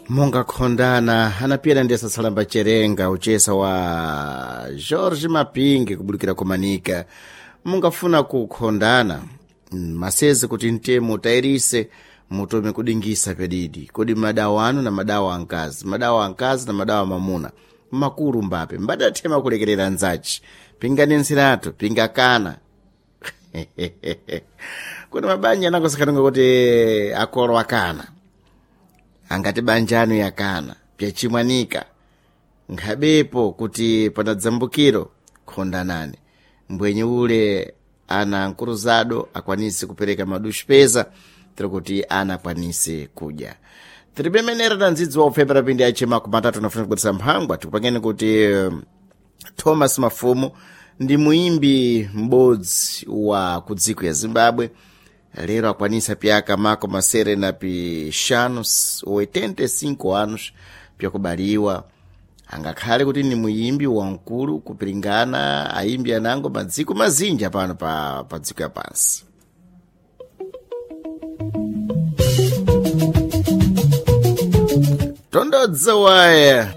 Mungakhondana anapiyana ndi asasalamba cherenga uchesa wa George Mapingi kubulukira kumanika. Mungafuna kukhondana maseze kuti mtemo tayirise mutome kudingisa pedidi kodi madawa anu na madawa ankazi, madawa ankazi na madawa mamuna makulu mbape mbadathema kulekerera nzachi pingani nsiratu pingakana kuti mabanja anakosakhatunga kuti akolo akana angati banja anu yakana pyachimwanika nkhabepo kuti panadzambukiro khondanani mbwenye ule ana nkuruzado akwanise kupereka maduxipeza tiri kuti ana akwanise kudya tiripemenera na ndzidzi wa upfepera pindi achema kumatatu nafuna kubweresa mphangwa tikupangeni kuti Thomas Mafumu ndi muimbi m'bodzi wa kudziko ya Zimbabwe lero akwanisa pyaka mako masere na pixanu 85 anos pyakubaliwa angakhale kuti ni muimbi wamkulu kupiringana aimbi anango madziko mazinja pano pa dziko ya pansi. Tondodza waya.